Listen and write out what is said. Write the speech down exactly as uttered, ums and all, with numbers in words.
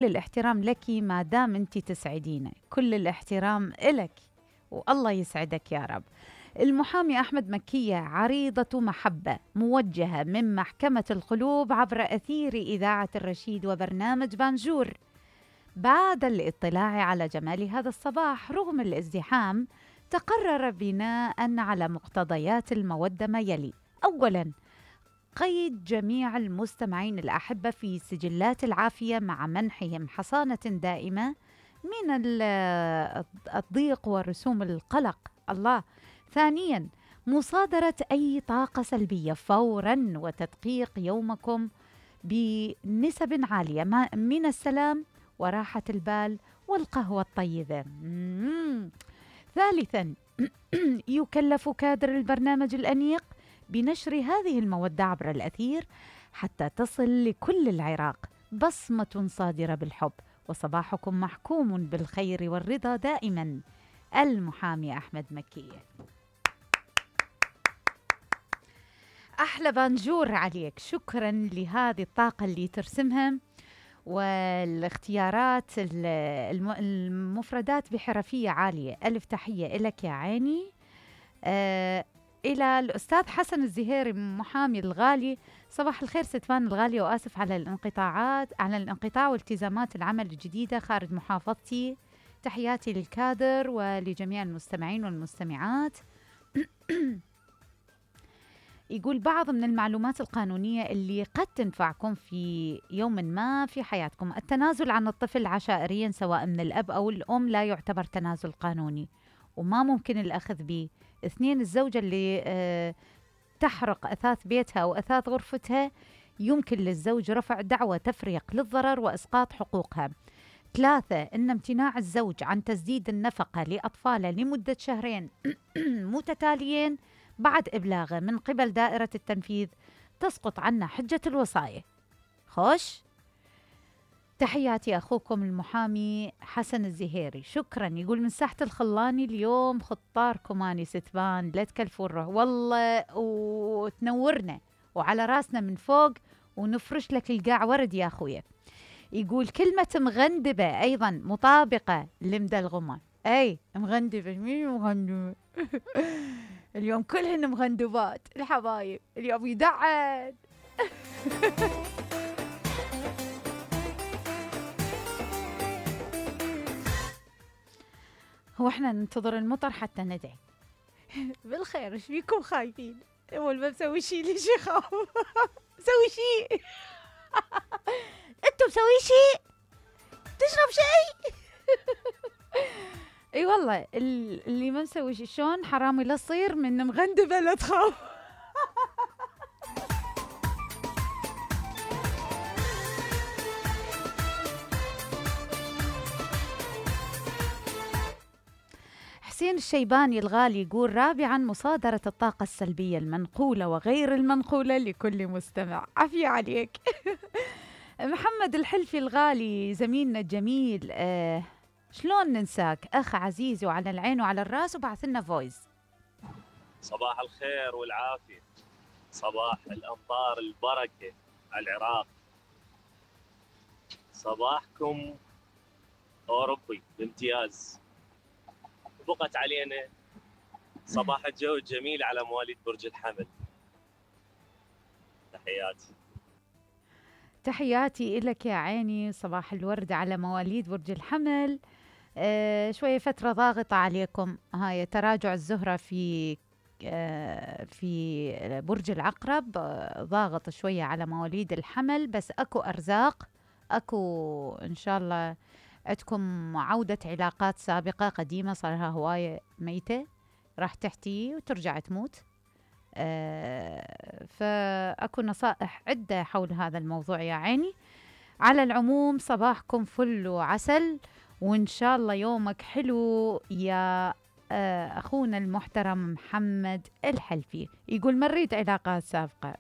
الاحترام لك ما دام انت تسعدينا، كل الاحترام إلك والله يسعدك يا رب. المحامي أحمد مكية عريضة محبة موجهة من محكمة القلوب عبر أثير إذاعة الرشيد وبرنامج بانجور. بعد الاطلاع على جمال هذا الصباح رغم الازدحام، تقرر بناء على مقتضيات المودة ما يلي: أولاً، قيد جميع المستمعين الأحبة في سجلات العافية مع منحهم حصانة دائمة من الضيق ورسوم القلق. الله. ثانياً، مصادرة أي طاقة سلبية فوراً وتدقيق يومكم بنسب عالية من السلام وراحة البال والقهوة الطيبة. مم. ثالثاً، يكلف كادر البرنامج الأنيق بنشر هذه المودة عبر الأثير حتى تصل لكل العراق بصمة صادرة بالحب، وصباحكم محكوم بالخير والرضا دائما. المحامي أحمد مكية. أحلى بانجور عليك، شكرا لهذه الطاقة اللي ترسمها والاختيارات المفردات بحرفية عالية. ألف تحية إلك يا عيني. آه إلى الأستاذ حسن الزهيري محامي الغالي: صباح الخير ستفان الغالية، وآسف على الانقطاعات على الانقطاع والتزامات العمل الجديدة خارج محافظتي. تحياتي للكادر ولجميع المستمعين والمستمعات. يقول: بعض من المعلومات القانونية اللي قد تنفعكم في يوم ما في حياتكم: التنازل عن الطفل عشائريا سواء من الأب أو الأم لا يعتبر تنازل قانوني وما ممكن الأخذ به. اثنين، الزوجة اللي أه تحرق أثاث بيتها أو أثاث غرفتها يمكن للزوج رفع دعوى تفريق للضرر وإسقاط حقوقها. ثلاثة، إن امتناع الزوج عن تسديد النفقة لأطفاله لمدة شهرين متتاليين بعد إبلاغه من قبل دائرة التنفيذ تسقط عنا حجة الوصاية. خوش. تحياتي أخوكم المحامي حسن الزهيري، شكرا. يقول: من ساحة الخلاني اليوم خطاركم أني ستبان لا تكلفوا الروح والله وتنورنا وعلى راسنا من فوق ونفرش لك القاع ورد يا أخويا. يقول: كلمة مغندبة أيضا مطابقة لمدلغمة. أي مغندبة، مين مغندبة؟ اليوم كلهن مغندبات الحبايب، اليوم يدعن. هو احنا ننتظر المطر حتى ندعي؟ بالخير، ايش فيكم خايفين؟ اول ما مسوي شيء ليش يخاف؟ مسوي شيء. انتم مسوي شيء؟ تشرب شيء؟ اي والله اللي ما مسوي شيء شلون حرامي لا تصير من مغندبه لا تخاف. حسين الشيباني الغالي يقول: رابعاً، مصادرة الطاقة السلبية المنقولة وغير المنقولة لكل مستمع. عافية عليك. محمد الحلفي الغالي زميلنا الجميل: آه شلون ننساك أخ عزيز وعلى العين وعلى الراس، وبعث لنا فويس. صباح الخير والعافية، صباح الأمطار البركة على العراق، صباحكم أوروبي بامتياز. بقت علينا صباح الجو الجميل على مواليد برج الحمل. تحياتي. تحياتي إلك يا عيني، صباح الورد على مواليد برج الحمل. آه شوية فترة ضاغطة عليكم، هاي تراجع الزهرة في آه في برج العقرب، آه ضاغط شوية على مواليد الحمل، بس أكو أرزاق، أكو إن شاء الله عندكم عودة علاقات سابقة قديمة صار لها هواية ميتة راح تحتي وترجع تموت. آه فأكو نصائح عدة حول هذا الموضوع يا عيني. على العموم صباحكم فل وعسل، وإن شاء الله يومك حلو يا آه أخونا المحترم محمد الحلفي. يقول: مريت علاقات سابقة.